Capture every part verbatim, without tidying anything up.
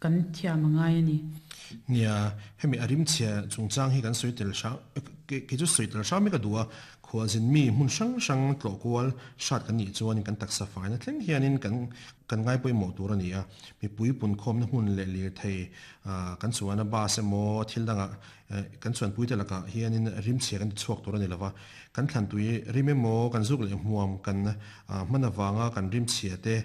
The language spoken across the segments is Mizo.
kan thiam angai ani. Nia, hemi a rimchhia chungchang hi kan sawi tel hrang kei chu sawi tel hrang mai ka duh a, khualzin mi hmun hrang hrang tlawh kual hrat kan nih chuanin kan taksa faina thleng hianin kan kan ngai pawimawh tur a ni a, mipui punkhawmna hmun leh lirthei kan chuana bus emaw thil dangah kan chuanpuite lakah hianin rimchhia kan ti chhuak tur a ni lova, kan thlantui rim emaw kan zuk leh hmuam kan hman avanga kan rimchhia te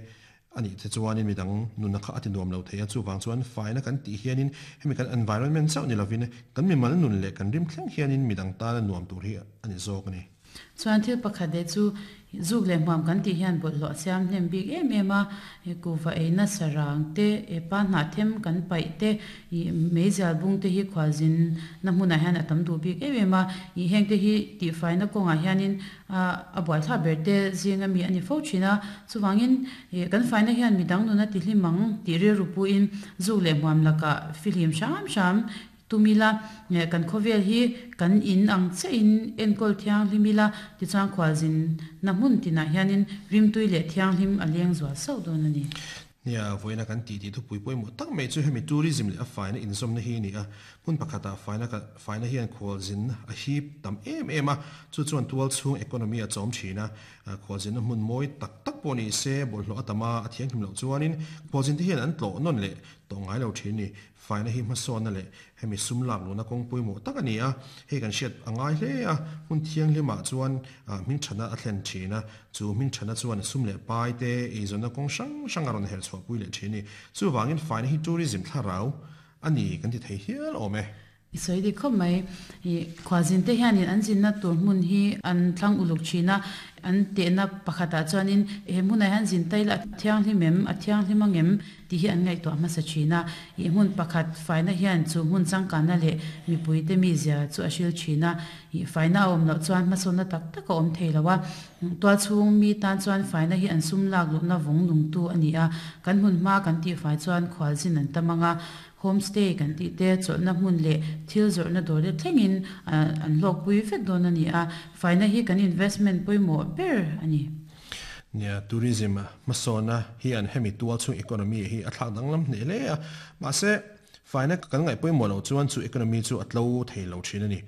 ani te chuanin midang nuna kha a ti nuam lo thei a, chuvang chuan faina kan tih hianin hemi kan environment chauh ni lovin kan mimal nun leh kan rim thleng hianin midang tana nuam tur hi a ni zawk a ni. Chuan thil pakhat leh chu zuk leh hmuam kan tih hian bawlhhlawh a siam hnem bik em em a, kuhva eina sarang te, pa hnah them kan paih te, ih meizial bung te hi khualzin na hmunah hian a tam duh bik em em a, ih heng te hi tihfaina kawngah hianin a buaithlak ber te zinga mi a ni fo thin a, chuvangin ih kan faina hian midang nuna ti hlim ang tih rilru puiin zuk leh hmuam lakah fihlim hram hram tumila kan khawvel hi kan in ang chiahin enkawl thianghlim ila tichuan khualzin na hmun tinah hianin rimtui leh thianghlim a leng zual sauh dawn a ni. Nia, vawiina kan tih tih thupui pawimawh tak mai chu hemi tourism leh a faina inzawmna hi a ni a, hmun pakhatah faina faina hian khualzin a hip tam em em a, chu chuan tual chhung economy a chawm thin a, khualzinna hmun mawi tak tak pawh ni se bawlhhlawh a tam a, a thianghlim loh chuanin khualzin te hian an tlawh nawn leh tawh ngai lo thin a ni. Faina hi hmasawnna leh hemi sum lak luhna kawng pawimawh tak a ni a, hei kan hriat a ngai hle a, hmun thianghlimah chuan hmingthana a thlen thin a, chu hmingthana chuan sum leh pai te eizawnna kawng hrang hrang a rawn herh chhuahpui leh thin a ni. Chuvangin faina hi tourism thlarau a ni kan ti thei hial awm e. I sawi dik khawp mai. Ih khualzin te hianin an zinna tur hmun hi an thlang uluk thin a, an tehna pakhatah chuanin he hmunah hian zin taila a thianghlim em, a thianghlim ang em tih hi an ngaihtuah hmasa thin a. Ih hmun pakhat faina hian chu hmun changkanna leh mipuite mizia chu a hril thin a. Ih faina a awm loh chuan hmasawnna tak tak a awm thei lo a. Tual chhung mi tan chuan faina hi an sum lak luhna vawng nungtu a ni a. Kan hmun hma kan tihfai chuan khualzin an tam ang a, homestay kan tih te chawlhna hmun leh thil zawrhna dawr te thlengin an hlawkpui vek dawn a ni a, faina hi kan investment pawimawh ber a ni. Nia, tourism hmasawnna hian hemi tual chhung economy hi a thlak danglam hneh hle a, mahse faina kan ngaih pawimawh loh chuan chu economy chu a tlo thei lo thin a ni.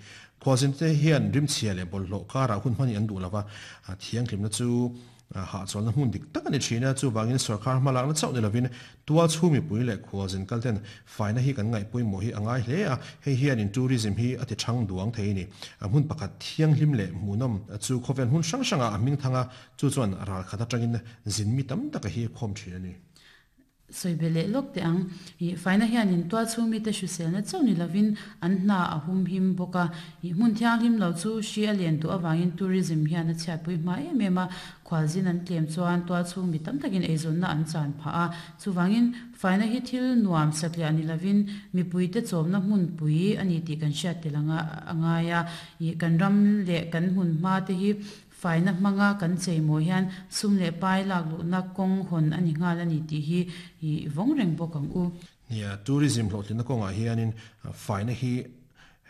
Khualzin te hian rimchhia leh bawlhhlawh karah hun hmani an duh lova, thianghlimna chu hahchawlna hmun dik tak a ni thin a, chuvangin sorkar hmalakna chauh ni lovin tual chhung mipui leh khualzin kalten faina hi kan ngaih pawimawh hi a ngai hle a, hei hianin tourism hi a ti thang duang thei a ni. Hmun pakhat thianghlim leh hmuhnawm chu khawvel hmun hrang hrangah a hming thang a, chu chuan ral khat atangin zin mi tam taka hi khawm thin a ni. Sawi be leh lawk teh ang. Ih faina hianin tual chhung mite hriselna chauh ni lovin an hna a hum him bawk a. Ih hmun thianghlim lo chu hri a len duh avangin tourism hian a chhiatpui hma em em a. Khualzin an tlem chuan tual chhung mi tam takin eizawnna an chan phah a. Chuvangin faina hi thil nuam satliah ni lovin mipuite chawmna hmunpui a ni tih kan hriat tel anga a ngai a. Ih kan ram leh kan hmun hma te hi faina hmanga kan cheimaw hian sum leh pai lak luhna kawng hawn a ni nghal a ni tih hi ih vawng reng bawk ang u. Nia, tourism hlawhtlinna kawngah hianin faina hi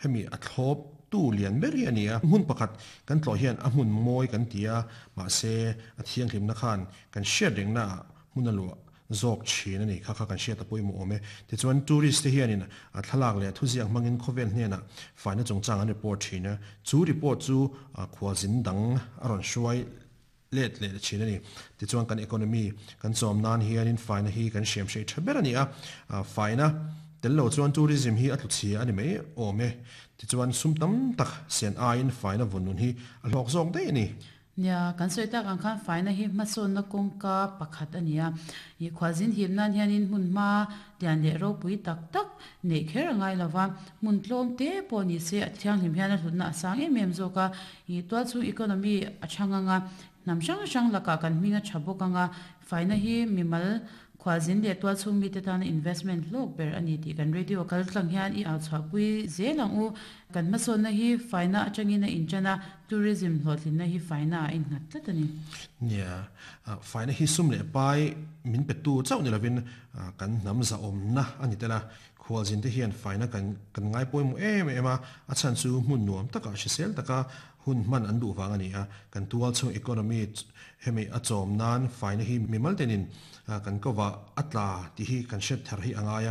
hemi a thlawp tu lian ber hi a ni a. Hmun pakhat kan tlawh hian a hmun mawi kan ti a, mahse a thianghlimna khan kan hriat rengnaah hmun a luah zawk thin a ni. Kha kha kan hriat a pawimawh awm e. Tichuan tourist te hianin a thlalak leh thuziak hmangin khawvel hnenah faina chungchang an report thin a, chu report chu khualzin dang a rawn hruai let leh thin a ni. Tichuan kan economy kan chawm nan hianin faina hi kan hriam hrei tha ber a ni a, faina tel lo chuan tourism hi a tluchhia a ni mai awm e. Tichuan sum tam tak sian aiin faina vawn nun hi a hlawk zawk daih a ni. Nia, kan sawi tak ang khan faina hi hmasawnna kawngka pakhat a ni a. Ih khualzin hip nan hianin hmun hma lian leh ropui tak tak neih kher a ngai lova, hmun tlawm te pawh ni se a thianghlim hian a hlutna a sang em em zawk a. Ih tual chhung economy a thang ang a, hnam hrang hrang lakah kan hming a tha bawk ang a, faina hi mimal khualzin leh tual chhung mite tana investment hlawk ber a ni tih kan radio kal tlang hian i au chhuahpui zel ang u. Kan hmasawnna hi faina atangin a intan a, tourism hlawhtlinna hi faina a innghat tlat a ni. Nia, faina hi sum leh pai min petu chauh ni lovin kan hnam zahawmna a ni tel a. Khualzin te hian faina kan kan ngai pawimawh em em a, a chhan chu hmun nuam takah hrisel taka hun hman an duh vang a ni a. Kan tual chhung economy hemi a chawm nan faina hi mimal tenin kan kovah a tla tih hi kan hriat thar hi a ngai a.